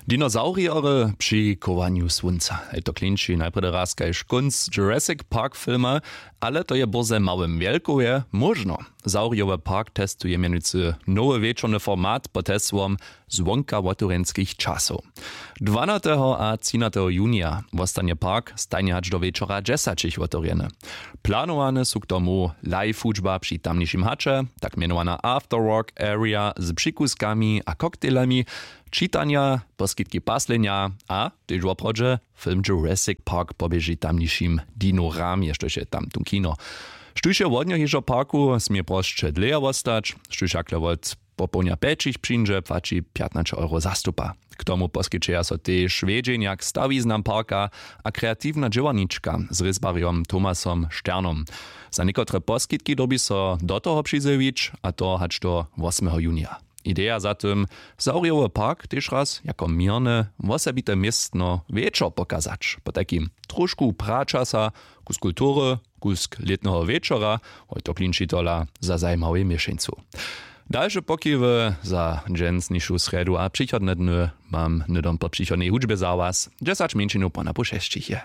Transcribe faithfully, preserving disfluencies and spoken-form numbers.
Dinosauriery při chowanju słónca, hej to klinči najprjedy raz kaž kónc Jurassic Park filma. Ale to je bórze w małym wjelkowje móžno. Zaurijowy park testuje mjenujcy nowy wječorny format pod hesłom zwonka wotewrjenskich časow. Dwanateho a třinateho junija wostanje park stajnje hač do wječora dźesaćich wotewrjeny. Planowane su k tomu live hudźba při tamnišim haće, tak mjenowana afterwork area z přikuskami a koktelami, čitanja, poskitki paslenja a tež woprawdźe film Jurassic Park poběži tamnišim dinoramje štož je tam tón kino. Štóž je wodnjo hižo w parku smě prosće dlěje wostać, štóž hakle wot popołdnja pjećich přińdźe płaći pjatnaće euro zastupa. K tomu poskićeja so tež wjedźenja k stawiznam parka a kreatiwna dźěłarnička z rězbarjom Tomasom Šternom. Za někotre poskitki dyrbi so do toho přizjewić, a to hač do wosmeho junija. Ideja za tym, zaurijowy park tež raz jako měrne wosebite městno wječor pokazać, potajkim trošku pračasa, kusk kultury, kusk lětneho wječora, hoj to klinči tola za zajimawej měšeńcu. Dalše pokiwy za dźensnišu srjedu a přichodne dny mam hnydom po přichodnej hudźbje za was. Dźesać mjeńšinow po napoł šesćich je.